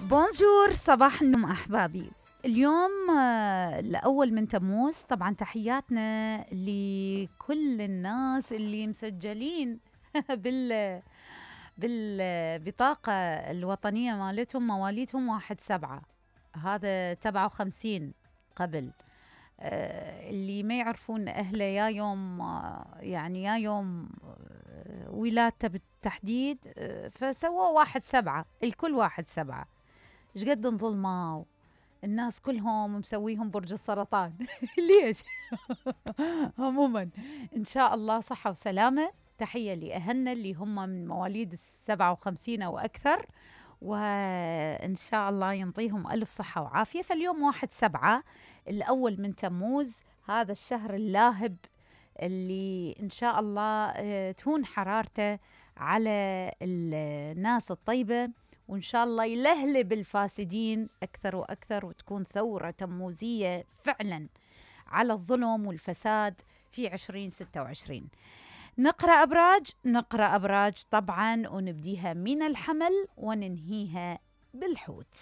بونجور، صباح النوم أحبابي. اليوم الأول من تموز، طبعا تحياتنا لكل الناس اللي مسجلين بالبطاقة الوطنية مالتهم مواليدهم 1/7، هذا 57 قبل. اللي ما يعرفون أهله يا يوم يعني يا يوم ولادته بالتحديد، فسووا 1/7، الكل 1/7. ايش قد انظلموا الناس كلهم مسويهم برج السرطان. ليش؟ عموما ان شاء الله صحة وسلامة. تحية لأهلنا اللي هم من مواليد 57 أو أكثر، وإن شاء الله ينطيهم ألف صحة وعافية. فاليوم 1/7 الأول من تموز، هذا الشهر اللاهب اللي إن شاء الله تهون حرارته على الناس الطيبة، وإن شاء الله يلهلب الفاسدين أكثر وأكثر، وتكون ثورة تموزية فعلا على الظلم والفساد في 2026. نقرأ أبراج طبعا، ونبديها من الحمل وننهيها بالحوت.